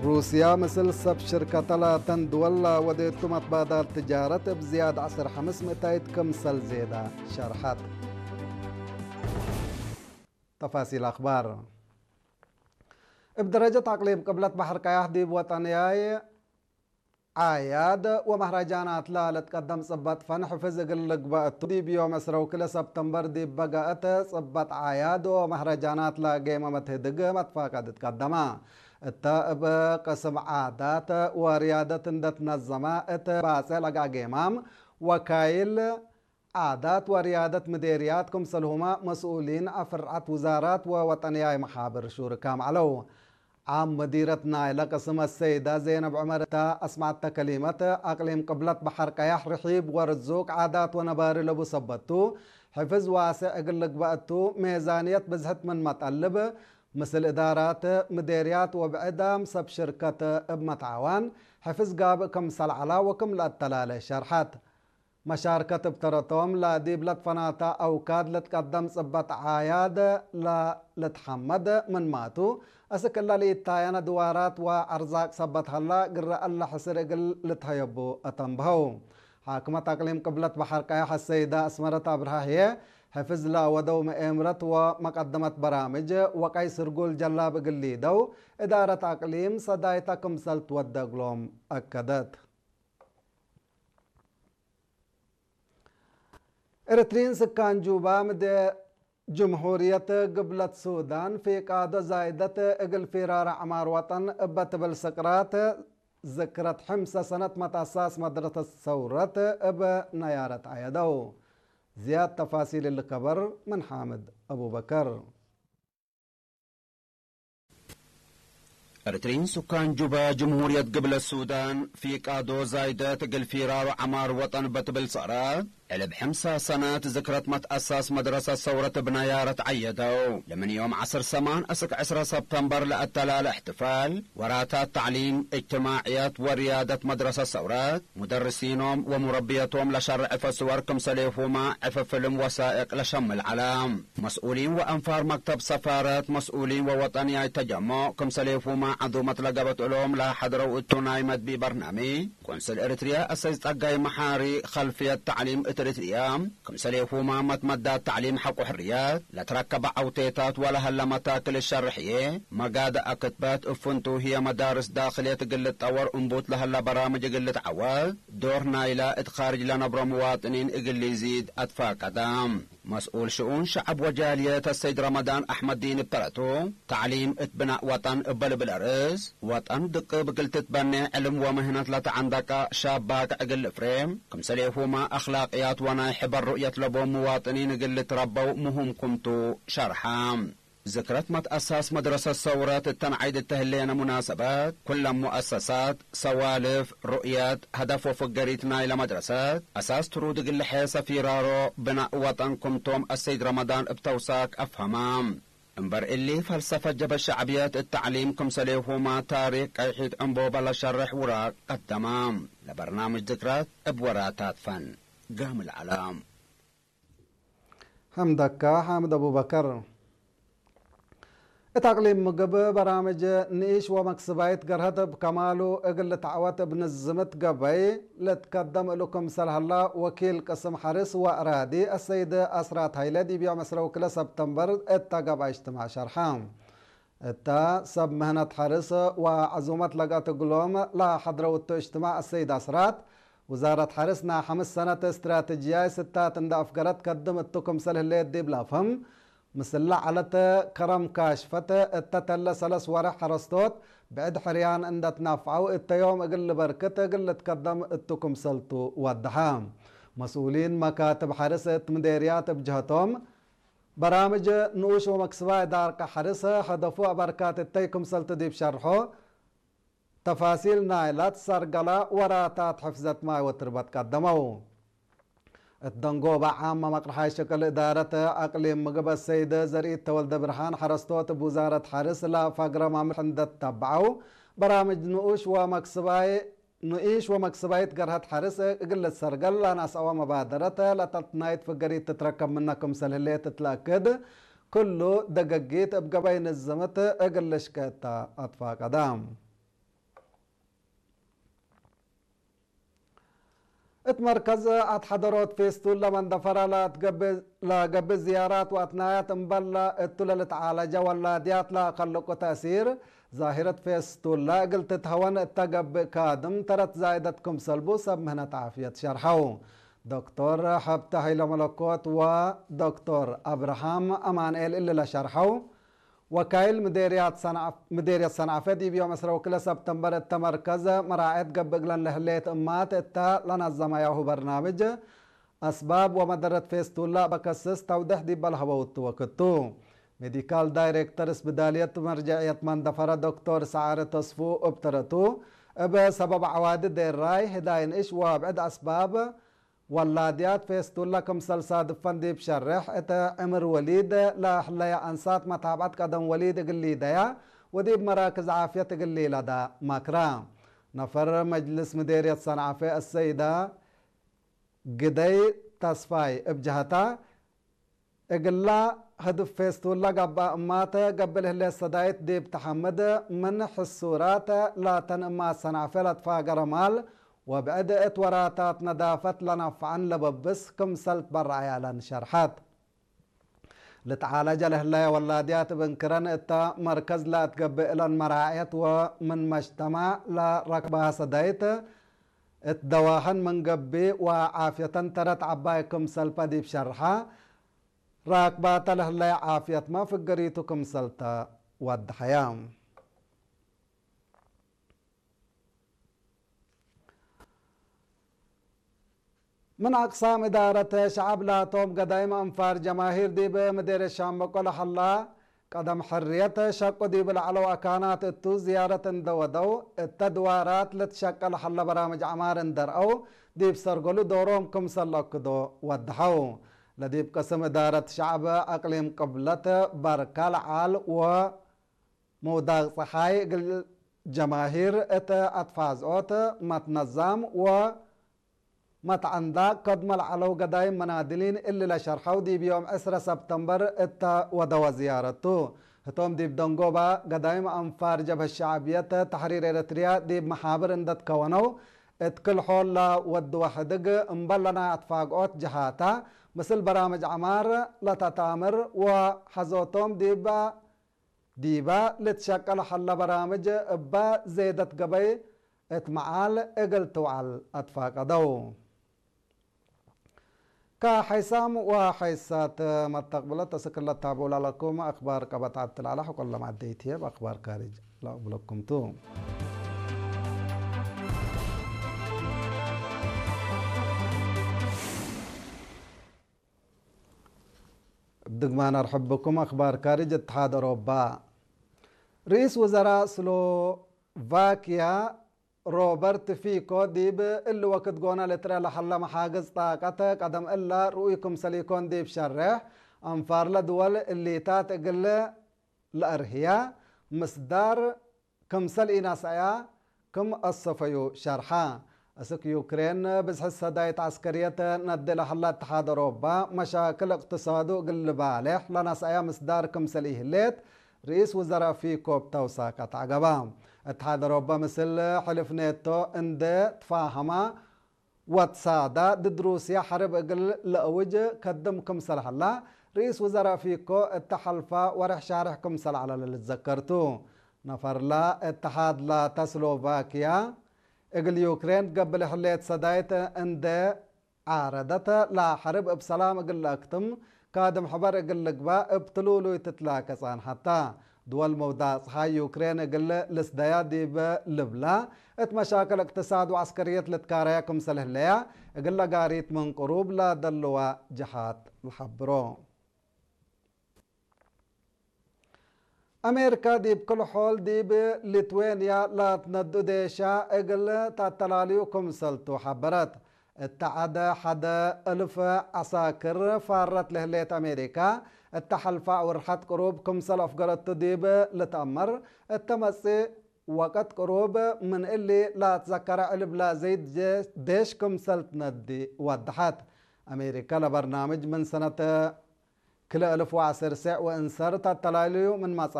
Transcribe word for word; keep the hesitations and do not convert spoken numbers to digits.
ሩስያ ምስል ሰብ ሽርከተ ላተን ድወል ለወዴቱ መትባዳል ትጃረት እብ ዝያድ ዐስር ሐምስ ምእታይት ክምሰል ዜዳ ሸርሐት። ተፋሲል አኽባር። እብ ደረጀት አቅሊም ቅብለት በሐር ቀያሕ ዲብ ወጠንያይ ዓያድ ወመህረጃናት ለልትቀደም ጽበጥ ፈን ሕፍዝ እግል ልግበእ እቱ፣ ዲብ ዮም ዕስራ ወክልኤ ሰብተምበር ዲብ በገአት ጽበጥ ዓያድ ወመህረጃናት ለጌመ መትህድግ መትፋቀድ ትቀደመ። እተ እብ ቅስም ዓዳት ወርያደት እንደ ትነዘመ እት ባጼ ለገአ ጌማም፣ ወካይል ዓዳት ወርያደት ምዴርያት ክምሰልሁመ መስኡሊን አፍርዐት ውዛራት ወወጠንያይ መሓብር ሹርካም ዐለው። ዓም መዲረት ናይለ ቅስም አሰይዳ ዜነብ ዑመር እተ አስመዐተ ከሊመት፣ አቅሊም ቅብለት በሐር ቀያሕ ርሒብ ወርዙቅ ዓዳት ወነባሪ ለቡ ሰበት ቱ፣ ሕፍዝ ዋሴዕ እግል ልግበእ ቱ፣ ሜዛንየት ብዝሕት ምንመ ጠልብ፣ ምስል እዳራት፣ ምዴርያት ወብዕዳም ሰብ ሽርከት እብ መትዓዋን ሕፍዝ ጋብእ ክምሰል ዐላ ወክም ለአተላሌ ሸርሐት። መሻርከት እብ ተረቶም፣ ለዲብ ለትፈናተ አውካድ ልትቀደም ጽበጥ ዓያድ ለልትሐመድ ምንማቱ፣ አስክ እለ ለኢታየነ ድዋራት ወአርዛቅ ሰበት ሀላ፣ ግረ እለ ሕስር እግል ልትሀየቡ አተንብሀው። ሓክመት አቅሊም ቅብለት በሐር ቀያሕ አሰይዳ አስመረት አብርሃ ህዬ፣ ሕፍዝ ለወደው መኤምረት ወመቀደመት በራምጅ ወቀይ ስርጉል ጀላብ እግል ሊደው፣ እዳረት አቅሊም ሰዳይተ ክምሰል ትወደ እግሎም አከደት። ኤረትርዪን ስካን ጁባ ምደ ጅምሁርየት ግብለት ሱዳን ፊቃዶ ዛይደት እግል ፊራር አዕማር ወጠን እበ ትብል ስቅራት ዝክረት ሕምሰ ሰነት መትአሳስ መድረሰት ሰውረት እብ ነያረት ዐየደው። ዝያድ ተፋሲል እሊ ከበር ምን ሓምድ አቡበከር። ኤረትርዪን ሱካን ጁባ ጅምሁርየት ግብለት ሱዳን፣ ፊቃዶ ዛይደት እግል ፊራሩ ዐማር ወጠን በትብል ሰቅራት፣ ዕልብ ሕምሳ ሰነት ዝክረት መትአሳስ መድረሰት ሰውረት እብ ነያረት ዐየደው። ለምን ዮም ዐስር ሰማን እስክ ዕስረ ሰብተምበር ለአተላለ እሕትፋል፣ ወራታት ተዕሊም፣ እጅትማዕየት ወርያደት መድረሰት ሰውረት፣ ሙደርሲኖም ወሙረብየቶም ለሸርዕ ዕፈ ስወር ክምሰሌሁመ ዕፈ ፍልም ወሳእቅ ለሸምል ዐለ። መስኡሊን ወአንፋር መክተብ ሰፋረት፣ መስኡሊን ወወጠንያይ ተጀሞዕ፣ ክምሰሌሁመ ዐዙመት ለገብአት እሎም ለሐድረው እቱ ናይ መድቢ በርናምጅ፣ ቆንስል ኤሪትርያ አሰይድ ጸጋይ መሓሪ፣ ከልፍየት ተዕሊም እት ኤሪትርያ፣ ክምሰሌሁመ መትመዳት ተዕሊም ሐቆ ሕርያት ለትረከበ ዐውቴታት ወለሀለ መታክል ሸርሕዬ፣ መጋደ አክትበት እብ ፍንቱ ህዬ መዳርስ ዳክልየት እግል ልትጠወር እንቡት ለሀለ በራምጅ እግል ልትዐወት፣ ዶር ናይለ እት ካርጅ ለነብሮ ምዋጥኒን እግል ሊዚድ አትፋቀደ። መስኡል ሽኡን ሸዐብ ወጃልየት አሰይድ ረመዳን አሕመድዲን እብ ተረቱ፣ ተዕሊም እት ብናእ ወጠን እበ ልብል አርእስ፣ ወጠን ድቅብ እግል ትትበኔ ዕልም ወምህነት ለተዐንደቀ ሻብ ባቅዕ እግል ልፍሬ፣ ክምሰሌሁመ አክላቅያት ወናይ ሕበር ሩእየት ለቦም ምዋጥኒን እግል ልትረበው ምሁም ክምቱ ሸርሐ። ዝክረት መትአሳስ መድረሰት ሰውረት እተን ዐይድ እተ ህሌነ ሙናሰበት፣ ኩለን ሙአሰሳት፣ ሰዋልፍ፣ ሩእየት፣ ሀደፍ ወፍገሪት ናይለ መድረሰት አሳስ ትሩድ እግል ልሔሰ ፊራሮ ብናእ ወጠን ክምቶም አሰይድ ረመዳን እብ ተውሳክ አፍሀመ። እምበር እሊ፣ ፈልሰፈት ጀብሀት ሸዕብየት እት ተዕሊም ክምሰሌሁመ ታሪክ ቀይሒት ዕንቦበ ለሸርሕ ውራቅ ቀደመ። ለበርናምጅ ዝክረት እብ ወራታት ፈን ጋምል ዐለ። ሐምደካ ሓምድ አቡበከር። እት አቅሊም ምግብ በራምጅ ንኢሽ ወመክስባይት ገርሀት እብ ከማሉ እግል ልትዐወት እብ ንዝምት ገበይ ልትከደም እሉ ክምሰል ሀላ ወኪል ቅስም ሐርስ ወአራዲ አሰይድ አስራት ሀይለ ዲብ ዮም ዕስራ ወክልኤ ሰብተምበር እተ ገብአ እጅትማዕ ሸርሐ። እተ ሰብ ምህነት ሐርስ ወዐዙመት ለገአት እግሎም ለሐድረው እቱ እጅትማዕ አሰይድ አስራት፣ ውዛረት ሐርስ ናይ ሐምስ ሰነት እስትራተጅያይ ስታት እንደ አፍገረት ከድም እቱ ክምሰል ህሌት ዲብ ለአፍህም፣ ምስለ ዐለት ከረም ካሽፈት እተ ተለ ሰለስ ወሬሕ ሐረስቶት ብዕድ ሕርያን እንደ ትናፍዐው እተ ዮም እግል ልበርክት እግል ልትከደም እቱ ክምሰልቱ ወደሐ። መስኡሊን መካትብ ሐርስ እት ምዴርያት እብ ጀህቶም፣ በራምጅ ንኡሽ ወመክስባይ ዳርቀ ሐርስ፣ ሀደፉ አበርካት እተይ ክምሰልቱ ዲብ ሸርሖ፣ ተፋሲል ናይላ ትሰርገለ ወራታት ሕፍዘት ማይ ወትርበት ቀደመው። እት ደንጎበ ዓመ መቅርሓይ ሽቅል እዳረት አቅሊም ምግብ አሰይድ ዘርኢት ተወልደ ብርሃን ሐረስቶት እብ ውዛረት ሐርስ ለፈግረ መምርሕ እንደ ተተብዐው፣ በራምጅ ንኡሽ ወመክስባይ ንኢሽ ወመክስባይት ገርሀት ሐርስ እግል ልትሰርገል ለነስአወ መባደረት ለተትናይት ፍገሪት ትትረከብ ምነ ክምሰል ህሌት እት ለአክድ፣ ክሉ ደገጊት እብ ገበይ ንዝምት እግል ልሽቄ እተ አትፋቀደ። እት መርከዝ አትሐደሮት ፌስቱላ መንደፈራ ለገብእ ዝያራት ወአትናያት እምበል እቱ ለልትዓለጀ ወላድያት ለአከልቁ ተእሲር፣ ዛሂረት ፌስቱላ እግል ትትሀወን እተ ገብእ ካድም ተረት ዛይደት ክምሰል ቡ ሰብ ምህነት ዓፍየት ሸርሐው። ዶክቶር ሐብተ ሀይለመለኮት ወዶክቶር አብርሃም አማንኤል እሊ ለሸርሐው፣ ወካይል ምዴርያት ሰንዐፍ-፣ ምዴርየት ሰንዐፈ ዲብ ዮም ዕስራ ወክልኤ ሰብተምበር እተ መርከዝ መራዐየት ገብእ እግለን ለህሌት እማት እተ ለነዘመያሁ በርናምጅ አስባብ ወመደረት ፌስቱላ በከስስ ተውደሕ ዲብ ለሀበውቱ ወክቱ። ሜዲካል ዳይሬክተር ስብዳልየት መርጀዕየት መንደፈረ ዶክቶር ሰዓረ ተስፉ እብ ተረቱ፣ እብ ሰበብ ዐዋዲ ዴራይ፣ ህዳይ ንእሽ ወብዕድ አስባብ ወላድያት ፌስቱላ ክምሰል ሳድፈን ዲብ ሸርሕ፣ እተ ዕምር ወሊድ ለህለየ አንሳት መታብዐት ቀደም ወሊድ እግል ሊደያ ወዲብ መራክዝ ዓፍየት እግል ሊለዳ መክራ። ነፈር መጅልስ ምዴርየት ሰንዓፈ አሰይዳ ግደይ ተስፋይ እብ ጀሀታ፣ እግላ ህድፍ ፌስቱላ ገብአ እማተ ገብእ ለህሌት ሰዳይት ዲብ ተሐምድ፣ ምን ሕሱራት ላተን እማት ሰንዓፈ ለትፋገረ ማል ወብዕድ እት ወራታት ነዳፈት ለነፍዐን ለበብስ ክምሰል ትበረዐ ያለን ሸርሐት። ልትዓለጀ ለህለየ ወላድያት እብ እንክረን እተ መርከዝ ለአትገብእ እለን መራዕየት ወምን መጅተማዕ ለረክባሀ ሰዳይት እት ደዋህን ምን ገብእ ወዓፍየተን ተረት ዐባይ ክምሰልበ ዲብ ሸርሐ፣ ራክባተ ለህለየ ዓፍየትመ ፍገሪቱ ክምሰልተ ወደሐየ። ምን አቅሳም እዳረት ሸዐብ ላቶም ገዳይም አንፋር ጀማሂር ዲብ ምዴርየት ሻምበቆ ለሀላ ቀደም ሕርየት ሸቁ ዲብ ለዐለው አካናት እቱ ዝያረት እንደ ወደው፣ እተ ድዋራት ልትሸቀል ሀለ በራምጅ ዐማር እንደ ረአው፣ ዲብ ሰርገሉ ዶሮም ክምሰል ለአክዶ ወደሐው። ለዲብ ቅስም እዳረት ሸዐብ አቅሊም ቅብለት በርካል ዐል ወመውዳቅ ጸሓይ እግል ጀማሂር እት አትፋዝኦት መትነዛም ወ መትዐንዳ ከድመ ለዐለው ገዳይም መናድሊን እሊ ለሸርሐው ዲብ ዮም ዕስረ ሰብተምበር እተ ወደወ ዝያረቱ። ህቶም ዲብ ደንጎባ ገዳይም አንፋር ጀብሀት ሸዕብየት ተሕሪር ኤረትርያ ዲብ መሓብር እንደ ትከወነው፣ እት ክል-ሖል ለወድወ ሕድግ እምበል ለናይ አትፋግኦት ጀሃታ፣ ምስል በራምጅ ዐማር ለተታምር ወሐዞቶም ዲበ ዲበ ልትሸቀል ሀለ በራምጅ እበ ዜደት ገበይ እት መዓል እግል ትውዓል አትፋቀደው። ከሐይሳም ወሐይሳት መተቅብለት እስክ ለታብዑ ላለኩም አክባር ቀበት ዐድ ትላላ ሕቆ ለማደይት ህዬ በአክባር ካርጅ ለአቅብለኩም ቱ። እብ ድግማን አርሕብ ብኩም። አክባር ካርጅ እትሓድ አውሮባ። ርኢስ ውዘራእ ስሎቫኪያ ሮበርት ፊኮ ዲብ እሊ ወክድ ጎነ ልትረአ ለሀለ መሓግዝ ጣቀት ቀደም እለ ርኡይ ክምሰል ኢኮን ዲብ ሸሬሕ፣ አንፋርለ ድወል እሊታት እግል ለአርህያ ምስዳር ክምሰል ኢነስአያ ክም አሰፈዩ ሸርሐ። እስክ ዩክሬን ብዝሕት ሰዳይት ዐስከርየት ነዲ ለሀላ እትሓድ አውሮባ፣ መሻክል እቅትሳዱ እግል ልባሌሕ ለነስአያ ምስዳር ክምሰል ኢህሌት፣ ርኢስ ውዘራእ ፊኮ እብ ተውሳከት ዐገበ። እትሓድ አውሮባ ምስል ሕልፍ ኔቶ እንዴ ትፋሀማ፣ ወትሳዳ ድድ ሩስያ ሐርብ እግል ለአውጅ ከድም ክምሰል ሀላ፣ ርኢስ ውዘራእ ፊኮ እተ ሐልፋ ወሬሕ ሻርሕ ክምሰል ዐለ ለልትዘከር ቱ። ነፈርላ እትሓድ ላተ ስሎቫኪያ፣ እግል ዩክሬን ትገብእ ለህሌት ሰዳይት እንዴ ዓረደት፣ ለሐርብ እብ ሰላም እግል ለአክትም፣ ካድም ሕበር እግል ልግባእ እብ ትሉሉይ ትትላከ ጸንሐት ተ። ድወል መውዳቅ ጸሓይ ዩክሬን እግል ልስደያ ዲብ ልብላ፣ እት መሻክል እቅትሳድ ወዐስከርየት ልትካረያ ክምሰል ህለያ፣ እግል ለጋሪት ምን ቅሩብ ለደልዋ ጀሃት ለሐብሮ። አሜሪካ ዲብ ክል-ሖል ዲብ ሊትዌንያ ለትነዱ ዴሻ እግል ተአተላልዩ ክምሰል ቱ ሐበረት። እተ ዐደ ሐደ እልፍ ዐሳክር ፋረት ለህሌት አሜሪካ፣ እተ ሐልፋ አውርሐት ቅሩብ ክምሰል አፍገረቱ ዲብ ልትአመር፣ እተ መጽእ ወቅት ቅሩብ ምን እሊ ለአትዘከረ ዕልብ ለዘይድ ዴሽ ክምሰል ትነዲ ወደሐት። አሜሪካ ለበርናምጅ ምን ሰነት ክልኤ እልፍ ወዐስር ሴዕ ወእንሰር ተአተላልዩ ምን መጽአ።